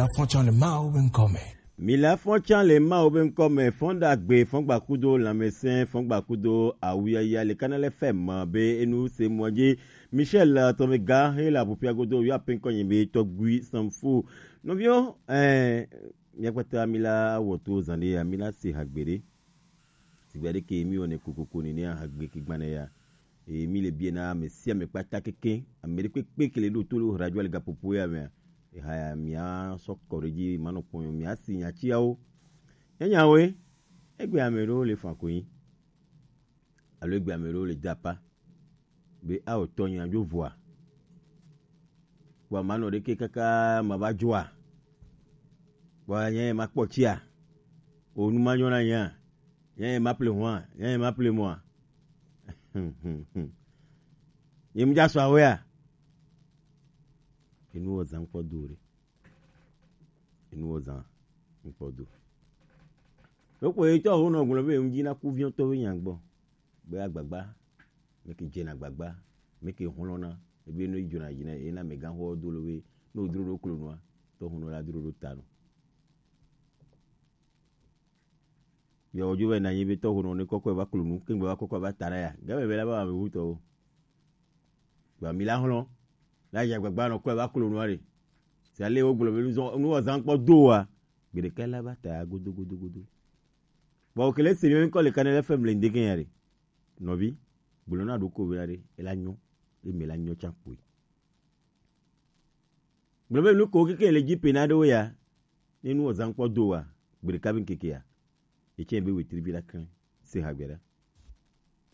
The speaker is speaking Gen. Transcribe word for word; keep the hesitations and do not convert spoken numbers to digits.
Afɔtsan le Mawu be ŋkɔ me. Mila fɔtsan le Mawu be ŋkɔ me, fɔn ɖagbe, fɔn gbakudo lãmesẽ, fɔn gbakudo awuyaya le Kanal F M be enu se mɔ dzi. Michel, eh, Tɔmega, he le Abupia godo, yɔ ape ŋkɔ nyi be Tɔgbui Sanfo. Nɔviwo, eh, mia kpata mi la wɔ to zan ɖe ya, mi la se hagbe ɖe. Sigbe ɖe ke mi wɔnɛ kokoko nene hagbe ke gbanɛ ya. Eye mi le biɛ na ame sia ame kpata keke, ame ɖe kpekpe ke le ɖo to lo radio le gaƒoƒo ya mea, eha ya mia sɔ kɔ ɖe dzi, manɔ kpɔnyɔ mia si nyatsiawo. Enyawoe, egbe ame ɖewo le fa konyi, alo egbe ame ɖewo le dapa, be awɔ tɔ nya dzo vɔa. Kpɔ manɔ ɖeke kaka ma va dzoa. Kpɔ nya ye ma kpɔ tsia. O nu ma nyɔ na nya. Nya ye ma ple hwa, nya ye ma ple mɔa. Ye mu dza sɔ awea. Enu wɔ zan kpɔ do ɖe. Enu wɔ zan kpɔ do. Ɖokpo ye tɔ ho nɔ gblɔ be ŋdzi na kuviɔtɔwo nya gbɔ. Be agbagba, me ke dzena agbagba, me ke hlɔna, ebe no dzona dzi na, ena me gan ho do lo be, no dro ɖo klo noa, tɔ ho no la dro ɖo ta no. Yo, ojo be na nyi be tɔ ho no ne kɔkɔ va klo nu, ke gbe va kɔkɔ va ta na ya. Ga be be la ba me wu tɔ o. Gba mi la hlɔn. La ya gbagba no kɔ va klo noa re. Se ale wo gblɔ be nu zɔn, nu wɔ zan kpɔ do wa. Gbe ɖeka la va ta godo, godo, godo. Bon, okele se mi ŋkɔ le Kanal F M le ŋdeke ya ɖe. Nɔvi, gblɔ na ɖoko be na ɖe, ela nyɔ, eme la nyɔ tsa kpoe. Gblɔ be nu ko keke le dzi pe na ɖewo ya, ne nu wɔ zan kpɔ do wa, gbe ɖeka be ŋkeke ya. Etsɛ be wetri vi la klẽ, se hagbe ɖa.